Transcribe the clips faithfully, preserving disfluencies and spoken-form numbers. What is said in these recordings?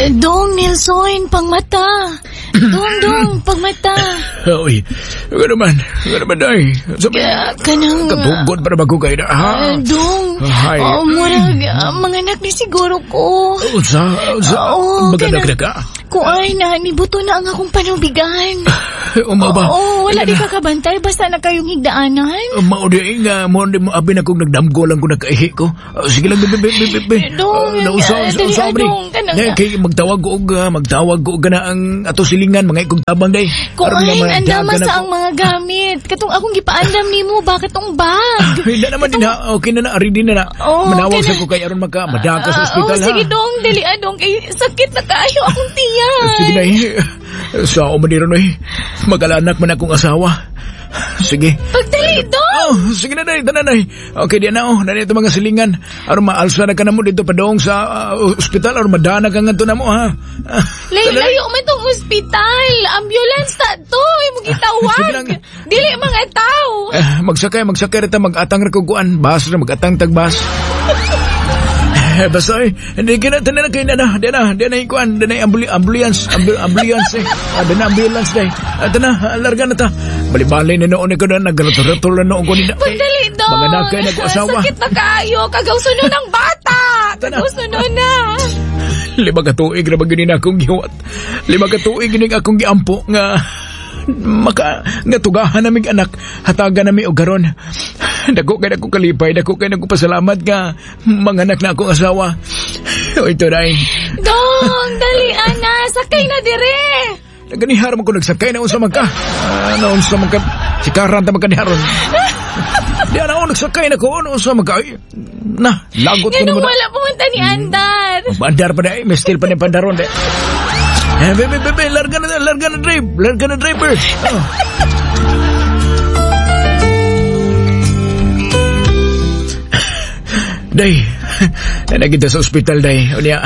Dong Nelson, pangmata. Dong, dong, pangmata. Uy, ano man, ano man day. Sabi, Uh, kanang... katugod para bago kayo na, ha? Uh, dong, Hi. oh, murag, uh, mga anak ni siguro ko. Unsa, unsa, Oo, maganak kanang- na ka? Kuay na, nibuto na ang akong panubigan. Umaw ba? Oo, wala di ka kabantay, basta na kayong higdaanan. Mao di nga, mo di mo abi na kong nagdamgo lang ko nakaihi ko. Ah, sige lang, be, be, be, be, be. Dong, Ah, nausa, ah, unsa, dali, unsa, ah, man eh. dong, kanang- Nay, kay magtawag ko og, ah, magtawag ko og kana ang ato silingan, mga ikong tabang day. Aron Kuay, nga andama madagan sa ako. ang mga gamit. Katong akong gipaandam nimo, bakit tong bag? Hindi naman din ha, okay na na, ready na na. Oo, Manawag okay sa na. ko kay aron maka, madaka sa Ah, ospital oh, ha. sige dong, dali adong kay sakit na kaayo akong tiyan. Sige na eh. Sa ako man ron eh. Mag-alanak man akong asawa. Sige. Pagdali dong. Oh, sige na day, tanan day. Okay, di na oh, nandito mga silingan. Aron maalsa na ka na mo dito padong sa ah, ospital aron madana ka ngadto na mo ha. Ah, Layo, tanan. layo man tong ospital. Ambulance ta to, imong Sige gitawag. lang. Dili mga tao. Eh, magsakay, magsakay rita mag-atang ra ko kuan, bus ra mag-atang tag bus. Eh, basta eh, hindi ka na, tanan na kayo na na, di na, di na ikuan, di na ambuli, ambulance, ambu, ambulance eh, ah, di na ambulance day. Ah, na, larga na ta. Bali-bali na noon ko na, nagratol-ratol na noon ko nila. Pagdali dong. Mga nakay na ko asawa. Sakit na kaayo, kagaw suno ng bata. Tana. Kagaw suno na. Lima ka tuig na ba gini na akong gihuwat. Lima ka tuig gini akong giampo nga maka nga tugahan namig anak hatagan nami og karon. Dako kay nako kalipay, dako kay nako pasalamat nga manganak na akong asawa. O ito day. Dong, dali ana, sakay na dire. Naganihar man ko nagsakay na unsa man ka. Ah, na unsa man ka. Sikaran ta man kaniharon. Di ana ako nagsakay na ko ano unsa man ka. Ay, na lagot ko Ganun nimo na. wala pumunta ni Andar. Bandar pa day, may still pa ni pandaron day. Eh, bebe, bebe, larga na, larga na drive, larga na driver. Oh. Day, nagita sa ospital, day. Unya,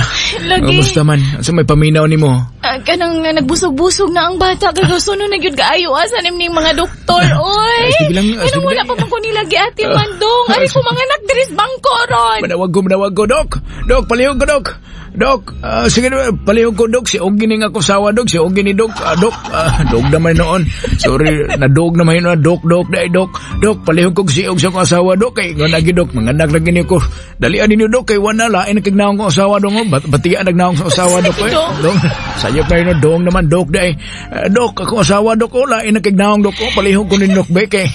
Lagi. Kumusta man? Sa may paminaw nimo? Ah, kanang nga nagbusog-busog na ang bata kagaw suno na gyud kaayo asa nim ning mga doktor oy. Ay, sige lang, ah, Ganun sige wala lang. pa man ko nila giati man dong. Ari ko mga anak diri sa bangko ron. Manawag ko, manawag ko, Dok. Dok, palihog ko, Dok. Dok, ah, sige na, palihog ko, Dok. Si Ogie ning ako sawa, Dok. Si Ogie ni Dok. Ah, Dok, ah, dog naman noon. Sorry, nadog naman yun. Dok, Dok, dai, Dok. Dok, palihog ko si Og sa akong asawa, Dok. Kay, nga nagi, Dok. Manganak na gini ko. Dalian ninyo, Dok. Kay wala, lain na kagnaong kong asawa, Dok. Oh. Bat batian nagnaong sa asawa, Dok. Eh. Dok. Dok, sayop na yun, dong naman, Dok, dai. Ah, Dok, akong asawa, Dok. Oh, lain na kagnaong, Dok. Oh, palihog ko ni Dok, be, kay.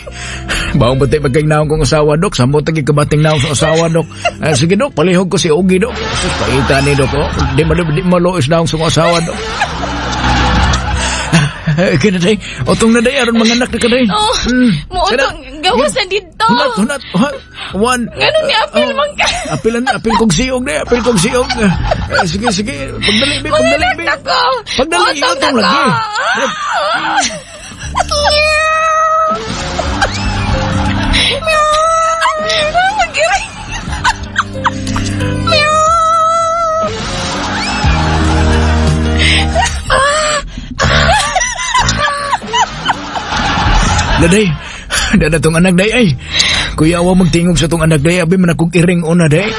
Bawang batay pagkagnaong kong asawa, Dok. Samot ang kabating naong sa asawa, Dok. Ah, sige, Dok, palihog ko si Ogie, Dok. Sus, paita ni, Dok. Oh. Di, malo, di maluis naong sa asawa, Dok. Kaya day, otong na day, aron mga anak na ka day. Oh, Mm. muutong gawas na dito. Hunat, hunat, hunat. One. Ganun ni apil Oh, man ka. Apilan, apil kong siyog day, apil kong siyog. Ah, sige, sige, pagdali, be, Mga pagdali, anak be. na ko. Pagdali, Utong utong na lagi. ko. Meow. Magiray. Meow. Daday, dada tong anak day ay. Kuya awa magtingog sa tong anak day, abi man akong iring una day.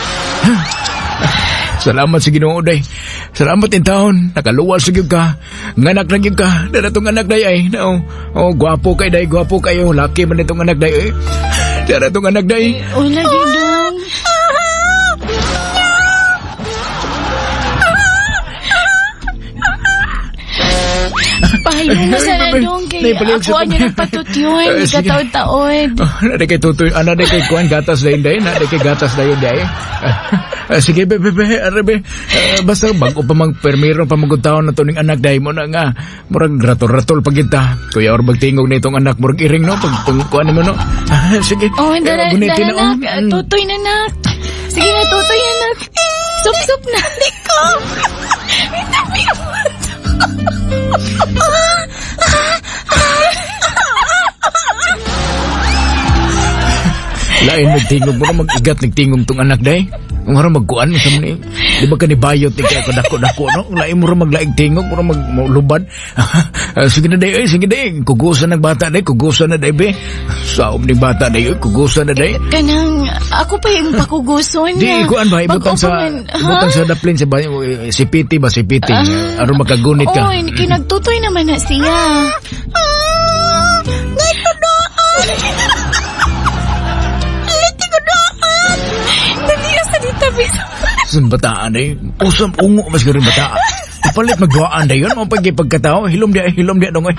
Salamat sa Ginoo day. Salamat in taon, nakaluwas sa gyud ka. Nganak na gyud ka. Dada tong anak day ay. No. Oh, gwapo kay day, gwapo kayo. Laki man itong anak day ay. Dada tong anak day. Oh, lagi dong. Pahayo mo sa dong kay Naipalihog ako sa- ano nagpatut yun. Eh, sige. Kataod-taod. Oh, na kay tutoy, ana di kay kuan gatas dayon day, na di kay gatas dayon day. Ah, sige be be be, are be. Ah, basta bago pa mang permiro pa magud taon na tuning anak day mo na nga. Murag ratol-ratol pag kita. Kuya or magtingog na itong anak murag iring no pag pag kuan mo no. Ah, sige. Oh, dara, Eh, gunitin dara na, oh. nak. Mm. Tutoy na nak. Sige na, tutoy na nak. Sup-sup na. Liko. Lain nagtingog mo na mag-igat nagtingog tong anak day. Kung harang magkuan sa ni, di ba ka ni bayot ni kaya dako-dako no? Lain mo ra maglaig tingog, mo ra mag lubad. Ah, sige na day, oy, sige day. Kugusan ng bata day, kugusan na day be. Saom ni bata day, oy, kugusan na day. Kanang, ako pa yung pakuguson Di, niya. kuan ba, ibutang Bag-o sa, pa man, ha? ibutang sa daplin sa bayo, si P T ba, si P T, aron makagunit ka. Oy, kinagtutoy naman na siya. Ah, doon. Liti ko doon. Dali sa ditabi sa Sun bataan ay, usam ungo mas garin bataan. Palit magduaan na yun, mo pag pagkatao, hilom di, hilom di dong ay.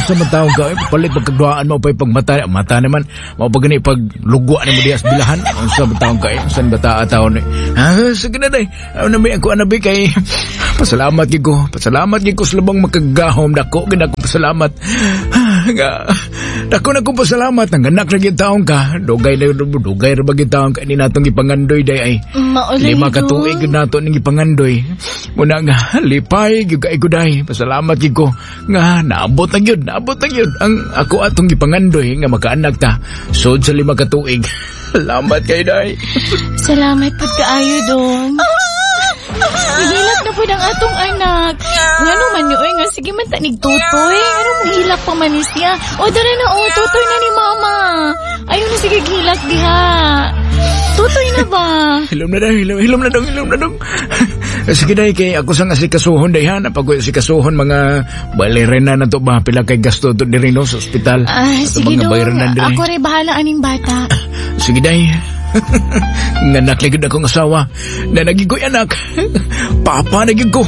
Sa matao ka, eh, palit pagkaduaan mo pag pagmata, mata naman, mo pag gani pag lugwa ni mo diya sa bilahan, sa matao ka eh, san bata taon eh. Ah, sige na day, ano na may ako anabi kay, pasalamat gyud ko, pasalamat gyud ko sa labang makagahom, dako gid ako pasalamat. Ah, nga, dako na ko pasalamat, ang anak na gyud taon ka, dugay na dugay ra ba gyud taon ka, ini natong gipangandoy day ay. Maulay. Lima ka tuig gyud nato ning gipangandoy. Muna nga lipay gyud kay ko day. Pasalamat gyud ko nga naabot na gyud, naabot na gyud ang ako atong gipangandoy nga makaanak ta. Sud sa lima ka tuig. Salamat kay day. Salamat pud kaayo dong. Nihilak na pud ang atong anak. Ngano man yun, nga sige man ta nigtutoy. Ngano mo hilak pa man ni siya? O dara na o, tutoy na ni mama. Ayaw na sige hilak diha. Tutoy na ba? Hilom na daw, hilom, hilom na dong, hilom na dong. Sige day, kay ako sang asikasuhon day ha, napag asikasuhon mga balerina na to ba, pila kay gasto to diri no sa ospital. Ah, Ato sige mga dong. bayaran na diri. Ako rin bahala aning bata. Sige day. Nganak lagi akong asawa. Na naging ko'y anak. Papa na gyud ko.